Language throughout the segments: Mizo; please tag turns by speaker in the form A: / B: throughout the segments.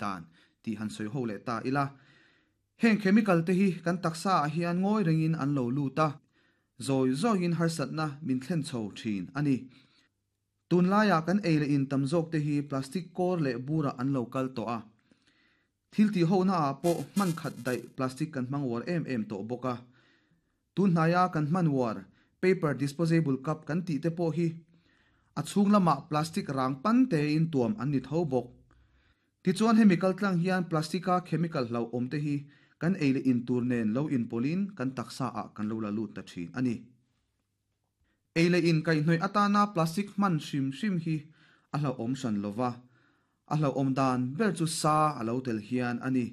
A: dan tih han sawi ho leh ta ila. Heng chemical te hi kan taksa ah hian ngawi rengin an lo lut a, zawi zawiin harsatna min thlen chho thin a ni. Tunlaiah kan ei leh in tam zawk te hi plastic kawr leh burah an lo kal tawh a. Thil tih hohna ah pawh hman khat daih plastic kan hmang uar em em tawh bawk a. Tun hnaia kan hman uar paper disposable cup kan tih te pawh hi a chhung lamah plastic rang pan tein tuam an ni tho bawk. Tichuan hemi kaltlang hian plastic a chemical hlauhawm te hi kan ei leh in tur nen lo inpawlhin kan taksa ah kan lo la lut ta thin a ni. Ei leh in kaihhnawih atana plastic hman hrim hrim hi a hlauhawm hran lo va, a hlauhawm dan ber chu sa a lo tel hian a ni.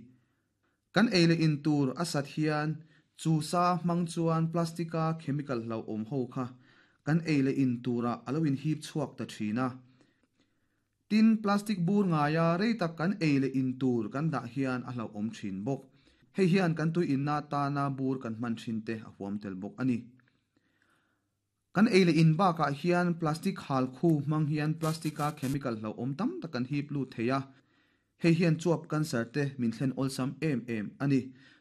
A: Kan ei leh in tur a sat hian chu sa hmang chuan plastic-a chemical hlauhawm ho kha kan ei leh in turah a lo inhip chhuak ta thin a. Tin, plastic bur ngaia rei tak kan ei leh in tur kan dah hian a hlauhawm thin bawk. Hei hian kan tui inna atana bur kan hman thin te a huam tel bawk a ni. Kan ei leh in bakah hian plastic hal khu hmang hian plastic-a chemical hlauhawm tam tak kan hip lut thei a. Hei hian chuap cancer te min thlen awlsam em em a ni.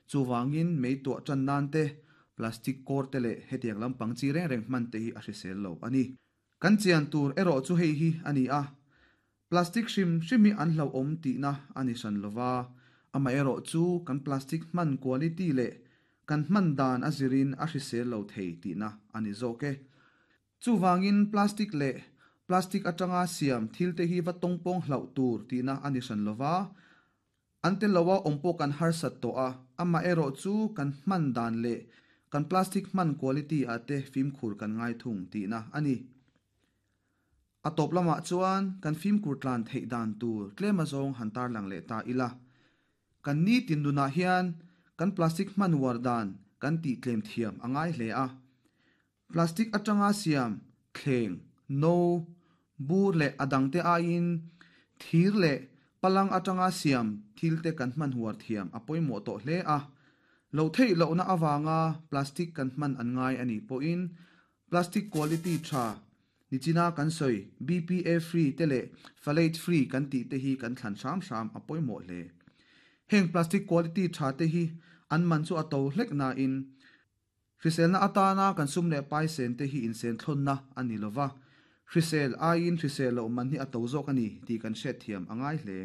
A: Chuvangin mei tuah tan nan te, plastic kawr te leh hetiang lampang chi reng reng hman te hi a hrisel lo a ni. Kan chian tur erawh chu hei hi a ni a, plastic hrim hrim hi an hlauhawm tihna a ni hran lo va, amaherawh chu kan plastic hman quality leh kan hman dan a zirin a hrisel lo thei tihna a ni zawk e. Chuvangin plastic leh plastic atanga siam thil te hi va tawngpawng hlauh tur tihna a ni hran lo va, An tel loa awm pawh kan harsat tawh a, amaherawh chu kan hman dan leh kan plastic hman quality ah te fimkhur kan ngai thung tihna a ni. A tawp lamah chuan kan fimkhur tlan theih dan tur tlem azawng han tarlang leh ta ila. Kan nitin nunah hian kan plastic hman uar dan kan tih tlem thiam a ngai hle a. Plastic atanga siam thleng, no, bur leh a dangte aiin thir leh palang atanga siam thilte kan hman huar thiam a pawimawh tawh hle a. Loh theih lohna avanga plastic kan hman an ngai a nih pawhin plastic quality tha nichina kan sawi BPA free te leh phthalate free kan tih te hi kan thlan hram hram a pawimawh hle. Heng plastic quality tha te hi an man chu a to hlek nain Hriselna atana kan sum leh pai sen te hi insenthlawnna a ni lova, hrisel aiin hrisel loh man hi a to zawk a ni tih kan hriatthiam a ngai hle.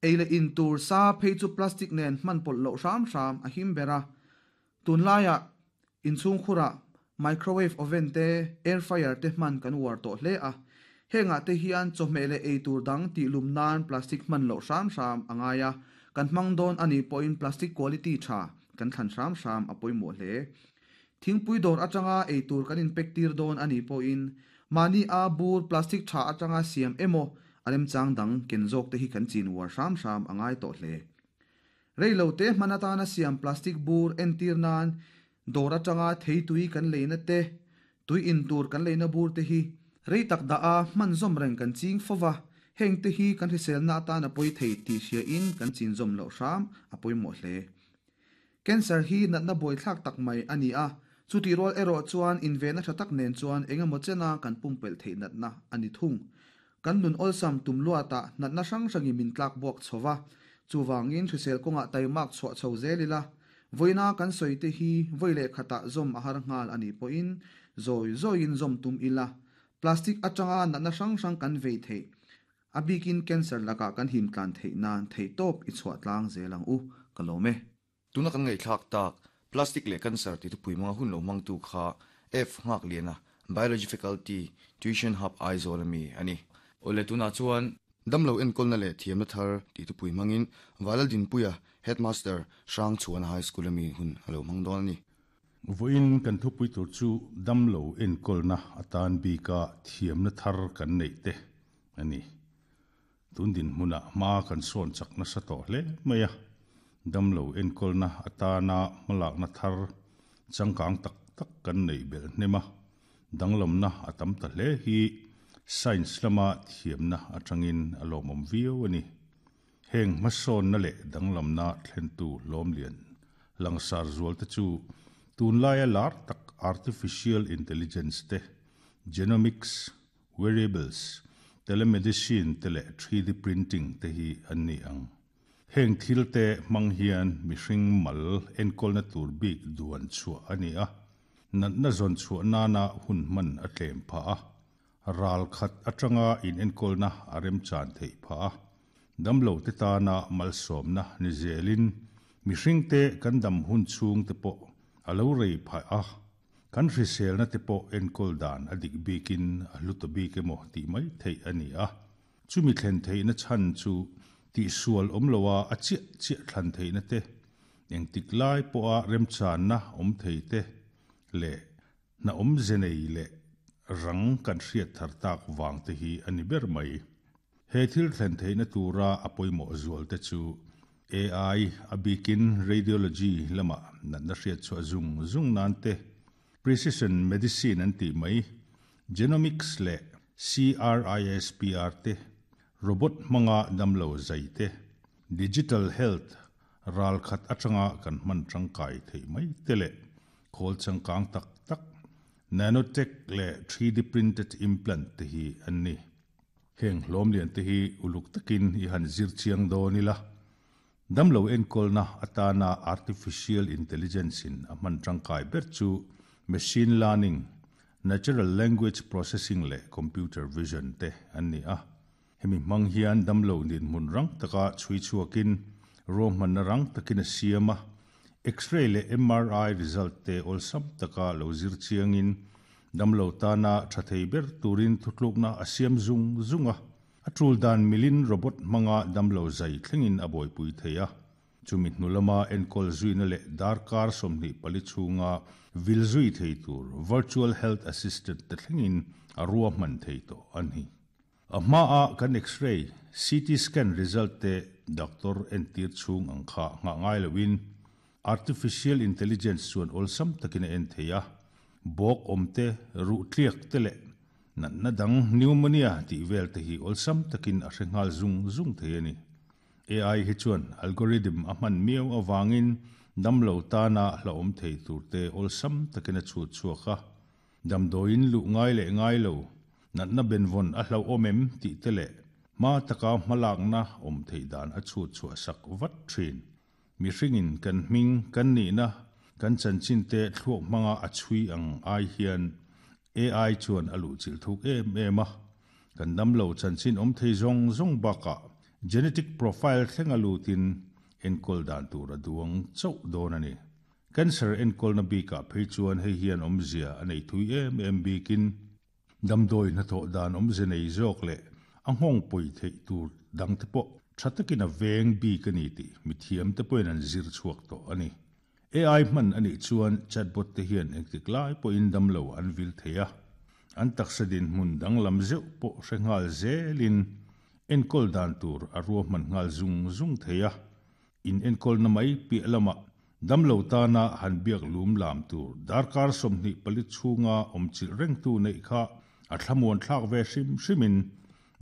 A: Ei leh in tur sa phei chu plastic nen hman pawlh loh hram hram a him ber a, tunlaiah inchhungkhurah microwave oven te, air fryer te hman kan uar tawh hle a, hengah te hian chawhmeh leh ei tur dang tihlum nan plastic hman loh hram hram a ngai a, kan hmang dawn a nih pawhin plastic quality tha Kan thlan hram hram a pawimawh hle. Thingpui dawr atanga ei tur kan inpek tir dawn a nih pawhin mahni a bur plastic tha atanga siam emaw a remchang dang ken zawk te hi kan chin uar hram hram a ngai tawh hle. Rei lo te hman atana siam plastic bur entir nan dawr atanga thei tui kan leina te, tui in tur kan leina bur te hi rei tak dah a hman zawm reng kan ching fo va, heng te hi kan hriselna atan a pawi thei tih hria in kan chin zawm loh hram a pawimawh hle. Cancer hi natna buaithlak tak mai a ni a, chutih rual erawh chuan invenna tha tak nen chuan eng emaw chena kan pumpelh theih natna a ni thung. Kan nun awlsam tum luatah natna hrang hrangin min tlak buak chho va, chuvangin hrisel kawngah taimak chhuah chho zel ila, vawiina kan sawi te hi vawi leh khatah zawm a har nghal a nih pawhin zawi zawiin zawm tum ila, plastic atanga natna hrang hrang kan vei theih A bikin cancer lakah kan him tlan theih nan theihtawp i chhuah tlang zel ang u, ka lawm e.
B: Tuna kan ngaihthlak tak, plastic leh cancer ti thupui hmanga hun lo hmangtu kha F Nghakliana, Biology Faculty, Tuition Hub Aizawl ami a ni. Awle tunah chuan damlo enkawlna leh thiamna thar tih thupui hmangin Valaldinpuia, Headmaster, Hrangchhuana High School ami hun a lo hmang dawn a ni.
C: Vawiin kan thupui tur chu damlo enkawlna atan bika thiamna thar kan neih te a ni. Tun dinhmunah hma kan sawn chak nasa tawh hle mai a, damlo enkawlna atana hmalakna thar changkang tak tak kan neih belh hnem a, danglamna a tam ta hle hi science lama thiamna atangin a lawmawm viau a ni. Heng hmasawnna leh danglamna thlentu hlawmlian langsar zualte chu tunlaia lar tak artificial intelligence te, genomics, wearables, Telemedicine te leh 3D printing te hi an ni ang. Heng thil te hmang hian mihring mal enkawlna tur bik duan chhuah a ni a, natna zawn chhuah nana hun hman a tlem phah a, ral khat atanga inenkawlna a remchan theih phah a, damlo te tana malsawmna ni zelin mihring te kan dam hun chhung te pawh a lo rei phah a, kan hriselna te pawh enkawl dan a dik bikin a hlu ta bik emaw tih mai theih a ni a. Chumi thlen theihna chhan chu tihsual awm loa a chiah chiah thlan theihna te, engtik lai pawha remchanna awm thei te leh hna awmze nei leh rang kan hriat thar tak vang te hi a ni ber mai. He thil thlen theihna tura a pawimawh zual te chu AI, a bikin radiology lama natna hriat chhuah zung zung nan te, Precision medicine an tih mai, genomics leh CRISPR te, robot hmanga damlo zai te, digital health ral khat atanga kan hman tangkai theih mai te leh khawl changkang tak tak, nanotech leh 3D printed implant te hi an ni. Heng hlawm lian te hi uluk takin i han zir chiang dawn ila. Damlo enkawlna atana artificial intelligence in a hman tangkai ber chu machine learning, natural language processing leh computer vision te an ni a. Hemi hmang hian damlo dinhmun rang taka chhui chhuakin ruahmanna rang takin a siam a, X-ray leh MRI result te awlsam taka lo zir chiangin damlo tana tha thei ber turin thutlukna a siam zung zung a. A tul dan milin robot hmanga damlo zai thlengin a buaipui thei a, chumi hnu lama enkawl zuina leh darkar 24 chhunga vil zui thei tur virtual health assistant te thlengin a ruahman thei tawh a ni. A hmaa kan X-ray, CT scan result te doctor entir chhung ang kha nghah ngai loin artificial intelligence chuan awlsam takin a en thei a, bawk awm te, ruh tliak te leh Natna dang pneumonia tih vel te hi awlsam takin a hre nghal zung zung thei a ni. AI hi chuan algorithm a hman miau avangin damlo tana hlauhawm thei tur te awlsam takin a chhut chhuak a. Damdawiin luh ngai leh ngai lo, natna benvawn a hlauhawm em tih te leh hma taka hmalakna awm theih dan a chhut chhuah sak vat thin. Mihringin kan hming, kan nihna, kan chanchin te thluak hmanga a chhui ang ai hian AI chuan a luhchilh thuk em em a, kan damlo chanchin awm thei zawng zawng bakah genetic profile thleng a lutin enkawl dan tur a duang chauh dawn a ni. Cancer enkawlna bikah phei chuan hei hian awmzia a nei thui em em bikin damdawi hnathawh dan awmze nei zawk leh a nghawng pawi theih tur dangte pawh tha takin a veng bik a ni tih mithiamte pawhin an zir chhuak tawh a ni. AI hman a nih chuan chatbot te hian engtik lai pawhin damlo an vil thei a, an taksa dinhmun danglam zeuh pawh hre nghal zelin enkawl dan tur a ruahman nghal zung zung thei a. In enkawlna mai piah lamah damlo tana han biak lum lam tur darkar 24 chhunga awmchilh rengtu neih kha a thlamuan thlak ve hrim hrimin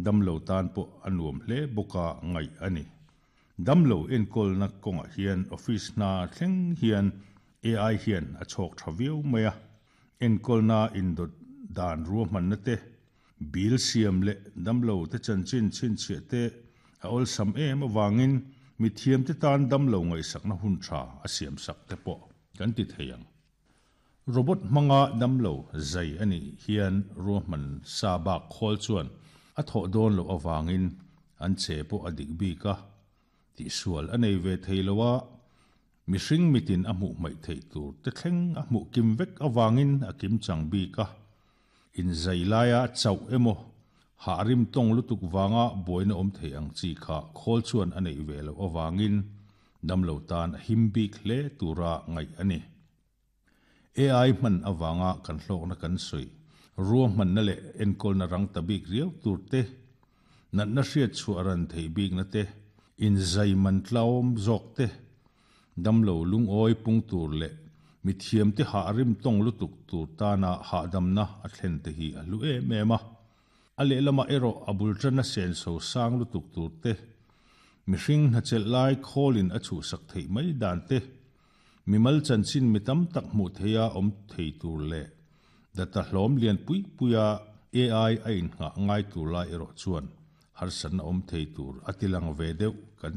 C: damlo tan pawh a nuam hle bawka ngaih a ni. Damlo enkawlna kawngah hian office hna thleng hian AI hian a chhawk tha viau mai a, enkawlna indawt dan ruahmanna te, bill siam leh damlo te chanchin chhinchhiah te a awlsam em avangin mithiam te tan damlo ngaihsakna hun tha a siamsak te pawh kan ti thei ang. Robot hmanga damlo zai a nih hian ruahman sa bak khawl chuan a thawh dawn loh avangin an che pawh a dik bik a, tihsual a nei ve thei lo a, mihring mitin a hmuh hmaih theih tur te thleng a hmuh kim vek avangin a kim chang bik a, inzai laia chauh emaw hah rim tawng lutuk vanga buaina awm thei ang chi kha khawl chuan a neih ve loh avangin damlo tan a him bik hle tura ngaih a ni. AI hman avanga kan hlawkna kan sawi, ruahmanna leh enkawlna rang ta bik riau tur te, natna hriat chhuah ran theih bikna te, inzai man tlawm zawk te, damlo lungawi pung tur leh mithiam te hah rim tawng lutuk tur tana hahdamna a thlen te hi a hlu em em a. A lehlamah erawh a bul tana senso sang lutuk tur te, mihring hnachelh lai khawlin a chhuhsak theih mai dan te, mimal chanchin mi tam tak hmuh theia awm thei tur leh data hlawm lian pui puia AI a innghah ngai tur lai erawh chuan harsatna awm thei tur a tilang ve deuh kan